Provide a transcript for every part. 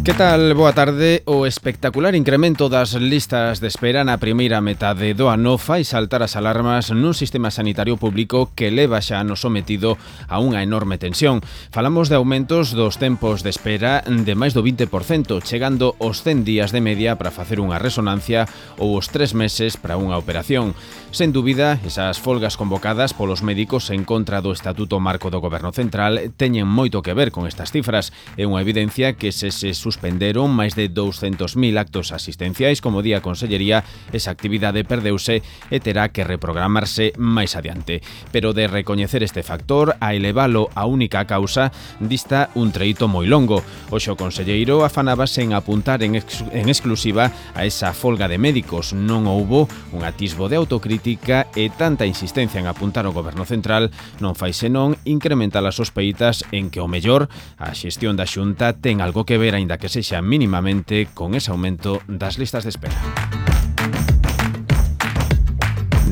Que tal? Boa tarde. O espectacular incremento das listas de espera na primeira metade do ano fai saltar as alarmas nun sistema sanitario público que leva xa ano sometido a unha enorme tensión. Falamos de aumentos dos tempos de espera de máis do 20%, chegando aos 100 días de media para facer unha resonancia ou os 3 meses para unha operación. Sen dúbida, esas folgas convocadas polos médicos en contra do Estatuto Marco do Goberno Central teñen moito que ver con estas cifras. É unha evidencia que se suspenderon máis de 200.000 actos asistenciais, como di a Consellería, esa actividade perdeuse e terá que reprogramarse máis adiante. Pero de recoñecer este factor, a elevalo a única causa, dista un treito moi longo. Hoxe o conselleiro afanábase en apuntar en exclusiva a esa folga de médicos. Non houbo un atisbo de autocrítica e tanta insistencia en apuntar ao Goberno Central non fai senón incrementar as sospeitas en que o mellor a xestión da Xunta ten algo que ver, aínda que sexa mínimamente, con ese aumento das listas de espera.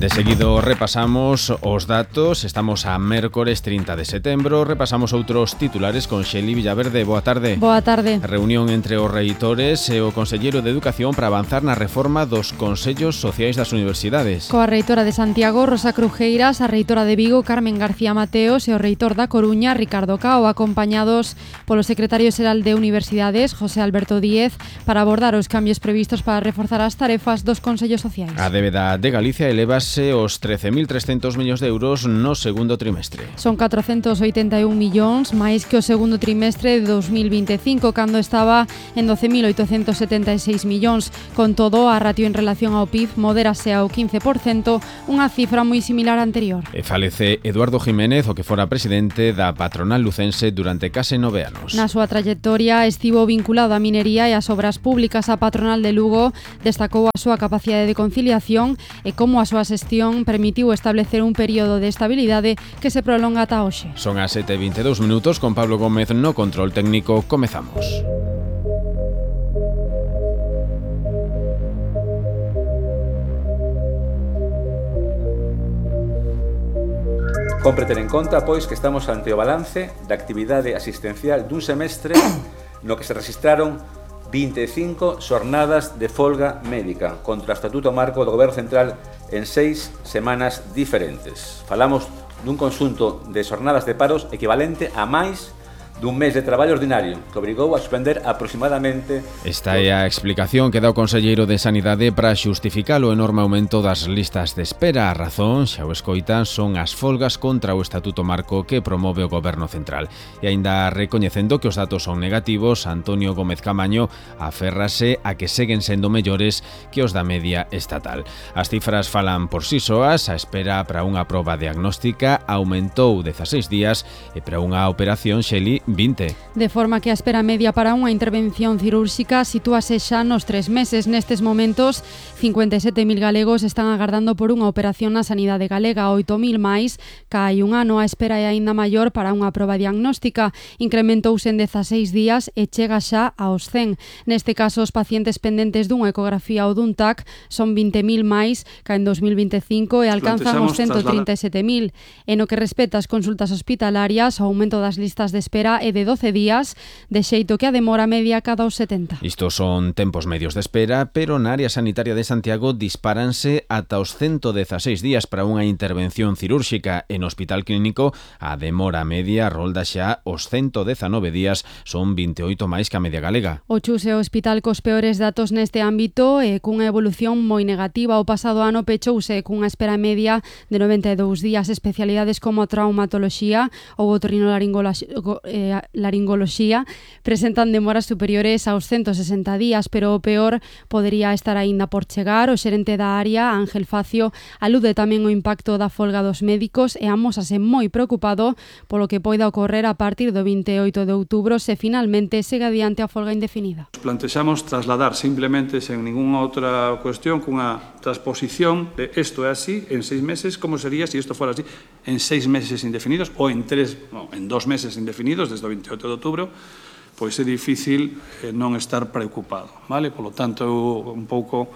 De seguido repasamos os datos. Estamos a mércores 30 de setembro. Repasamos outros titulares con Xeli Villaverde. Boa tarde. Boa tarde. Reunión entre os reitores e o Conselleiro de Educación para avanzar na reforma dos consellos sociais das universidades. Coa reitora de Santiago, Rosa Crujeiras, a reitora de Vigo, Carmen García Mateos, e o reitor da Coruña, Ricardo Cao, acompañados polo secretario xeral de Universidades, José Alberto Díez, para abordar os cambios previstos para reforzar as tarefas dos consellos sociais. A débeda de Galicia elevase os 13.300 millóns de euros no segundo trimestre. Son 481 millóns, máis que o segundo trimestre de 2025, cando estaba en 12.876 millóns. Con todo, a ratio en relación ao PIB modérase ao 15%, unha cifra moi similar á anterior. E falece Eduardo Jiménez, o que fora presidente da patronal lucense durante case 9 anos. Na súa trayectoria estivo vinculado á minería e ás obras públicas. A patronal de Lugo destacou a súa capacidade de conciliación e como a súa xestión permitiu establecer un período de estabilidade que se prolonga ata hoxe. Son as 7:22 minutos, con Pablo Gómez no control técnico. Comezamos. Compre ter en conta, pois, que estamos ante o balance da actividade asistencial dun semestre no que se registraron 25 xornadas de folga médica contra o Estatuto Marco do Goberno Central en 6 semanas diferentes. Falamos dun conxunto de xornadas de paros equivalente a máis dun mes de traballo ordinario, que obrigou a suspender aproximadamente... Esta é a explicación que dá o Conselleiro de Sanidade para xustificar o enorme aumento das listas de espera. A razón, xa o escoitan, son as folgas contra o Estatuto Marco que promove o Goberno Central. E aínda recoñecendo que os datos son negativos, Antonio Gómez Camaño aférrase a que seguen sendo mellores que os da media estatal. As cifras falan por si soas. A espera para unha proba diagnóstica aumentou 16 días e para unha operación, Xeli, 20. De forma que a espera media para unha intervención cirúrxica sitúase xa nos 3 meses. Nestes momentos, 57.000 galegos están agardando por unha operación na sanidade galega, 8.000 máis que hai un ano. A espera é aínda maior para unha proba diagnóstica. Incrementouse en 16 días e chega xa aos 100. Neste caso, os pacientes pendentes dunha ecografía ou dun TAC son 20.000 máis que en 2025 e alcanzan os 137.000. E no que respecta ás consultas hospitalarias, o aumento das listas de espera é de 12 días, de xeito que a demora media cada os 70. Estos son tempos medios de espera, pero na área sanitaria de Santiago dispáranse ata os 116 días para unha intervención cirúrxica. En Hospital Clínico a demora media rolda xa os 119 días, son 28 máis que a media galega. O Chus é o hospital cos peores datos neste ámbito e cunha evolución moi negativa. O pasado ano pechouse cunha espera media de 92 días. Especialidades como traumatoloxía ou otorrinolaringoloxía presentan demoras superiores aos 160 días, pero o peor podería estar aínda por chegar. O xerente da área, Ángel Facio, alude tamén o impacto da folga dos médicos e amósase moi preocupado polo que poida ocorrer a partir do 28 de outubro se finalmente segue adiante a folga indefinida. Plantexamos trasladar simplemente, sen ninguna outra cuestión, cunha transposición de isto é así en 6 meses, como sería se isto fora así en 6 meses indefinidos ou en 2 meses indefinidos desde o 28 de outubro, pois é difícil non estar preocupado, vale? Polo tanto, un pouco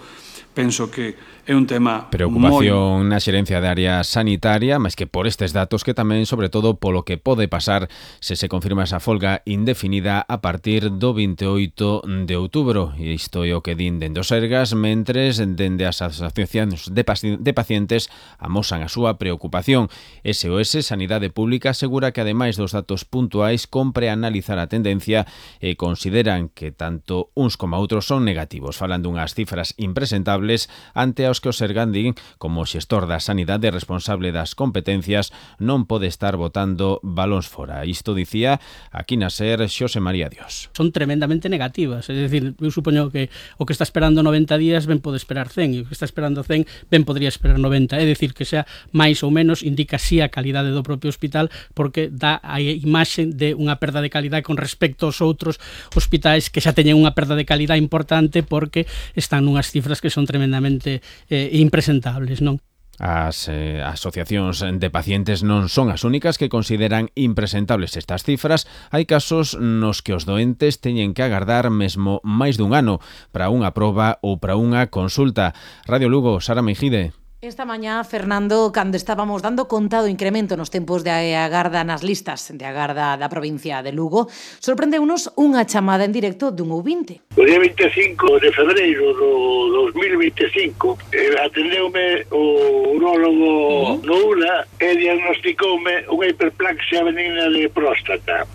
penso que é un tema preocupación na xerencia de área sanitaria, máis que por estes datos, que tamén, sobre todo, polo que pode pasar se se confirma esa folga indefinida a partir do 28 de outubro. E isto é o que din dende os Sergas, mentres dende as asociacións de pacientes amosan a súa preocupación. SOS Sanidade Pública asegura que, ademais dos datos puntuais, compre analizar a tendencia e consideran que tanto uns como outros son negativos. Falan dunhas cifras impresentables ante os que o Sergan din, como xestor da sanidade responsable das competencias, non pode estar botando balóns fora. Isto dicía aquí na SER Xosé María Dios. Son tremendamente negativas, é dicir, eu supoño que o que está esperando 90 días ben pode esperar 100, e o que está esperando 100 ben podría esperar 90, é dicir, que sea máis ou menos indica si a calidade do propio hospital, porque dá a imaxe de unha perda de calidade con respecto aos outros hospitais que xa teñen unha perda de calidade importante porque están nunhas cifras que son tremendamente impresentables, non? As asociacións de pacientes non son as únicas que consideran impresentables estas cifras. Hai casos nos que os doentes teñen que agardar mesmo máis dun ano para unha proba ou para unha consulta. Radio Lugo, Sara Meijide. Esta mañá, Fernando, cando estábamos dando conta do incremento nos tempos de agarda nas listas de agarda da provincia de Lugo, sorprendeunos unha chamada en directo dun ouvinte. O día 25 de febreiro do 2025 atendeume o urólogo no ULA e diagnosticoume unha hiperplaxia benigna de próstata.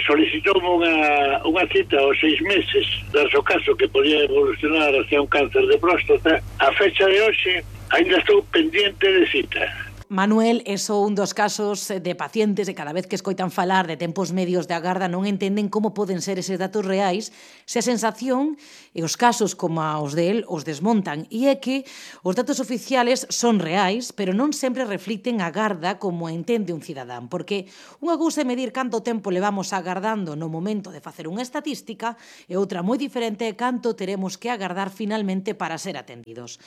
Solicitoume unha cita aos 6 meses, das o caso que podía evolucionar hacia un cáncer de próstata. A fecha de hoxe ainda estou pendiente de cita. Manuel é só un dos casos de pacientes e cada vez que escoitan falar de tempos medios de agarda non entenden como poden ser eses datos reais se a sensación e os casos como os de él os desmontan. E é que os datos oficiales son reais, pero non sempre reflicten a agarda como entende un cidadán, porque unha cousa é medir canto tempo levamos agardando no momento de facer unha estatística e outra moi diferente é canto teremos que agardar finalmente para ser atendidos.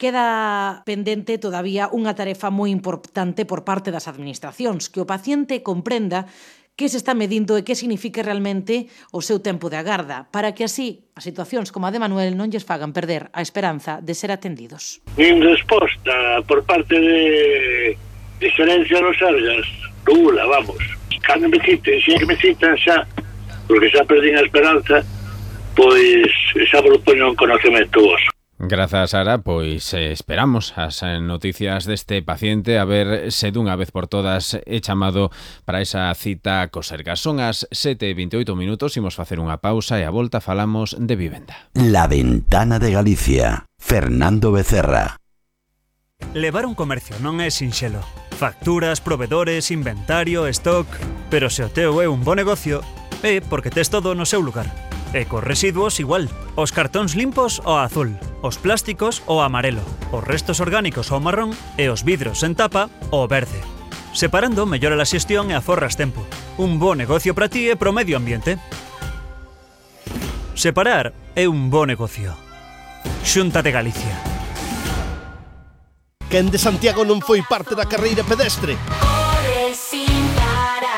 Queda pendente todavía unha tarefa moi importante por parte das administracións, que o paciente comprenda que se está medindo e que significa realmente o seu tempo de agarda, para que así as situacións como a de Manuel non lles fagan perder a esperanza de ser atendidos. Nin resposta por parte de xerencia nos Sergas, nula, vamos. Cando me citen, se me citan xa, porque xa perdín a esperanza, pois xa vos poño en conocemento vos. Grazas, Sara, pois esperamos as noticias deste paciente a ver se dunha vez por todas é chamado para esa cita co Sergas. Son as 7:28 minutos, imos facer unha pausa e a volta falamos de vivenda. La Ventana de Galicia, Fernando Becerra. Levar un comercio non é sinxelo. Facturas, provedores, inventario, stock... Pero se o teu é un bo negocio, é porque tes todo no seu lugar. E cos residuos igual, os cartóns limpos ao azul, os plásticos ao amarelo, os restos orgánicos ao marrón e os vidros en tapa ao verde. Separando mellora a xestión e aforras tempo. Un bo negocio para ti e pro medio ambiente. Separar é un bo negocio. Xunta de Galicia. Quen de Santiago non foi parte da carreira pedestre?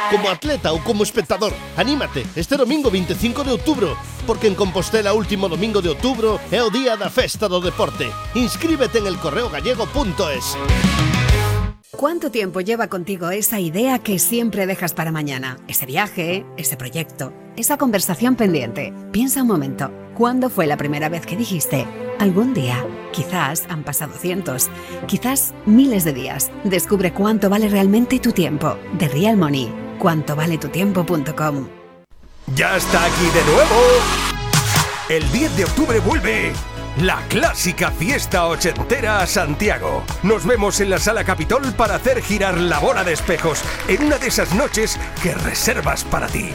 Como atleta ou como espectador, anímate este domingo 25 de outubro, porque en Compostela último domingo de outubro é o día da festa do deporte. Inscríbete en elcorreogallego.es. ¿Cuánto tiempo lleva contigo esa idea que siempre dejas para mañana? Ese viaje, ese proyecto, esa conversación pendiente. Piensa un momento, ¿cuándo fue la primera vez que dijiste? Algún día. Quizás han pasado cientos, quizás miles de días. Descubre cuánto vale realmente tu tiempo. The Real Money. cuantovaletutiempo.com. Ya está aquí de nuevo. El 10 de octubre vuelve la clásica fiesta ochentera a Santiago. Nos vemos en la Sala Capitol para hacer girar la bola de espejos en una de esas noches que reservas para ti.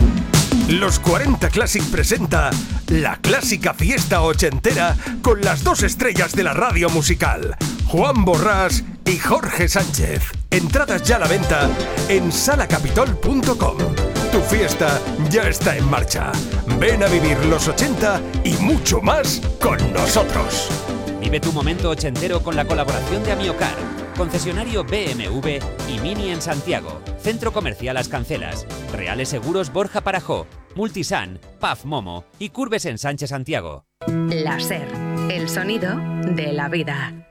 Los 40 Classic presenta la clásica fiesta ochentera con las dos estrellas de la radio musical, Juan Borrás y Jorge Sánchez. Entradas ya a la venta en salacapitol.com. Tu fiesta ya está en marcha. Ven a vivir los 80 y mucho más con nosotros. Vive tu momento ochentero con la colaboración de Amiocar, concesionario BMW y Mini en Santiago, Centro Comercial Las Cancelas, Reales Seguros Borja Parajó, Multisan, PAF Momo y Curves en Sánchez Santiago. La SER, el sonido de la vida.